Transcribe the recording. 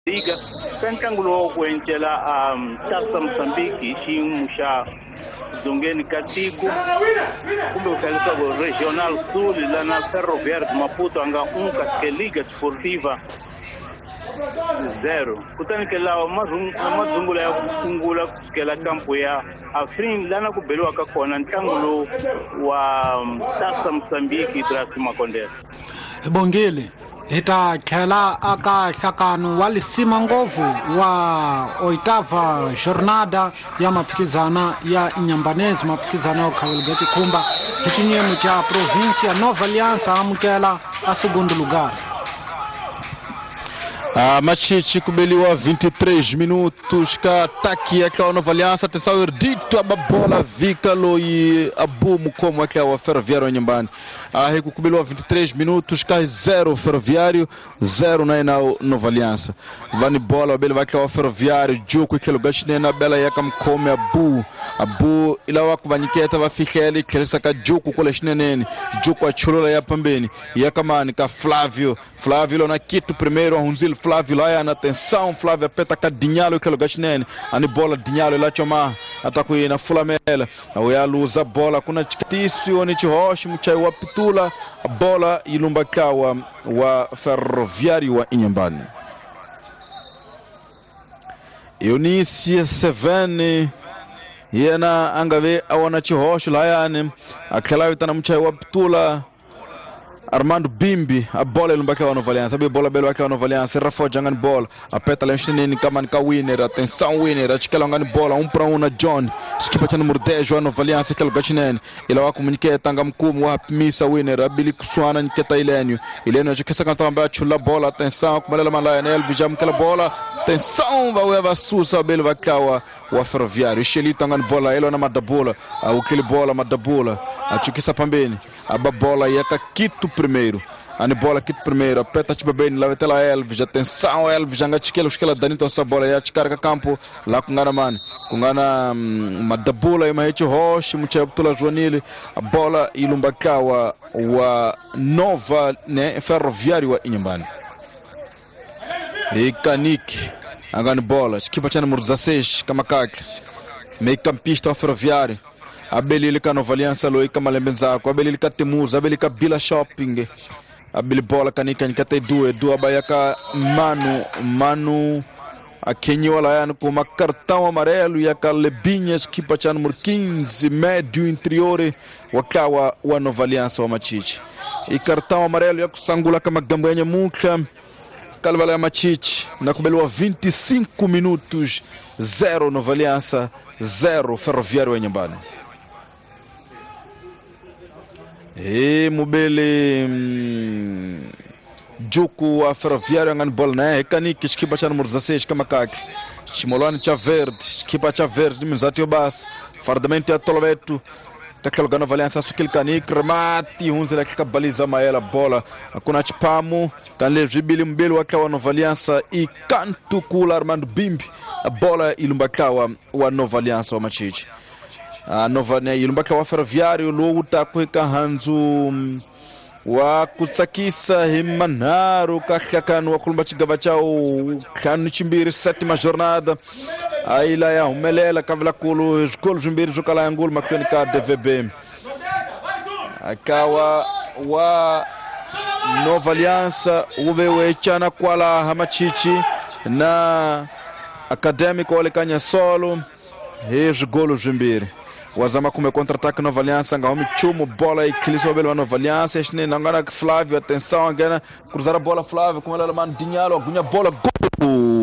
Liga ka ntlangu lowu ku encela Tasa Mozambique hi xiyimo xa dzongeni ka tiko kumbe ku hlaya leswaku Regional Sul lana Ferroviário de Maputo a nga 1 kasi ke Liga Desportiva 0. Kutani ke lawa madzungula ya ku sungula ku sukela kampo ya Afrin lana ku beliwaka kona ntlangu lowu wa Tasa Mozambique Ibrahim Makondela. Bongile hi ta tlhela aka nhlakano wa lisima ngopfu wa oitava jornada ya maphikizana ya Inhambane, maphikizana ya khavelga xikhumba hi xinyemo xa província Nova Aliança amukela a segundo lugar. Machichi kubeliwa 23 minutos ka ataque aquela Nova Aliança, atenção Erdito a bola vika loi abu mukomo aquela Ferroviário nyumbani. Kubeliwa 23 minutos ka 0 Ferroviário 0 na Nova Aliança. Vani bola bele vai aquela Ferroviário juku aquele gashnena bela yaka mkome abu abu ila wakuvaniketa va fihlele khelisa ka juku kule xineneni juku achulula ya pambeni yakamani ka Flávio Flávio lona kitu primeiro ahunzile Flávio lá na atenção Flávio apeta ka Dinhalo aquele gashnene ani bola Dinhalo lá choma ataku na fulamela uyaluza bola kuna chikatisi oni chihoshi mchai wa pitula a bola ilumba kawa wa Ferroviário wa Inhambane. Eunice Sevene yena angave awana chihoxo layani a tlhela vitana muchayi wa pitula Armando Bimbi a bola ilumba wa Nova Aliança, a bola belo wa Nova Aliança, Rafael jangani bola, a peta lá xinene kamani ka winner, atenção winner, a chikela ngani bola 1 para 1 na John, skipa cha número 10 wa Nova Aliança aquele gachinene, ila wa comuniceta ngam mkumu wa misa winner, abili kuswana niketa Ilênio, Ilênio achikesa kantamba chula bola, atenção kumalela malaya na Elvis jamkela bola, atenção vai va susa belo va wa Ferroviário, Xelito ngani bola, ela na madabula, o bola madabula, achukisa pambeni, a bola yaka Quito primeiro, ani bola Quito primeiro, apeta tipo bem, lá vai ter lá Elvis, atenção Elvis, anga chiquela, esquela Danito essa bola, ya chicarga campo, lá com gana mano, com gana madabula e mahechi roche, mucha ptula Joanile, a bola ilumbakawa wa Nova, né, Ferroviário wa Inhambane. E Kanik, angani bola, equipa tinha número 16, Kamakak, meio campista wa Ferroviário. Abelili ka Nova Aliança loi ka Malembenzako, abelili ka Temuza, abelili ka Bila Shopping, abeli bola kanika nikate due, dua bayaka Manu, Manu akenyiwa layani com cartão amarelo e a Lebinhas, equipa tinha número 15, médio interior, wakawa wa Nova Aliança wa Machichi. E cartão amarelo ya kusangula kama gambanha muka, Kalvala ya Machichi, na kubeliwa 25 minutos, 0 Nova Aliança, 0 Ferroviário Inhambane. E mubele juku a Ferroviário ngani bola né kaniki equipa cha número 16 kamakaki chimolani cha verde equipa cha verde mizati obas fardamento ya tolobeto kakelo gana Aliança sukil kanik remati hunzela kikabaliza maela bola akuna chipamu kanle jibili mbele wakawa Nova Aliança e kantu kula Armando Bimbi a bola ilumbakawa wa Nova Aliança wa Machichi. A Nova né ilumbaka wa Ferroviário luta kuika hanzu wa kutsakisa himanharu kahlakanu wa kulumba chigava chao kanu chimbiri sétima jornada aila ya humelela kavila kulu zikolo zvimbiri zvokala yangulu makwenu ka DVB akawa wa Nova Aliança uve wechana kwala hamachichi na Acadêmico olekanya solo hezvigolo zvimbiri wazama kume contra-ataque Nova Aliança ngahome chumo bola e cliso belo Nova Aliança este nangana Flávio atenção agora cruzar a bola Flávio com ela mano Dinhalo agunya bola gol.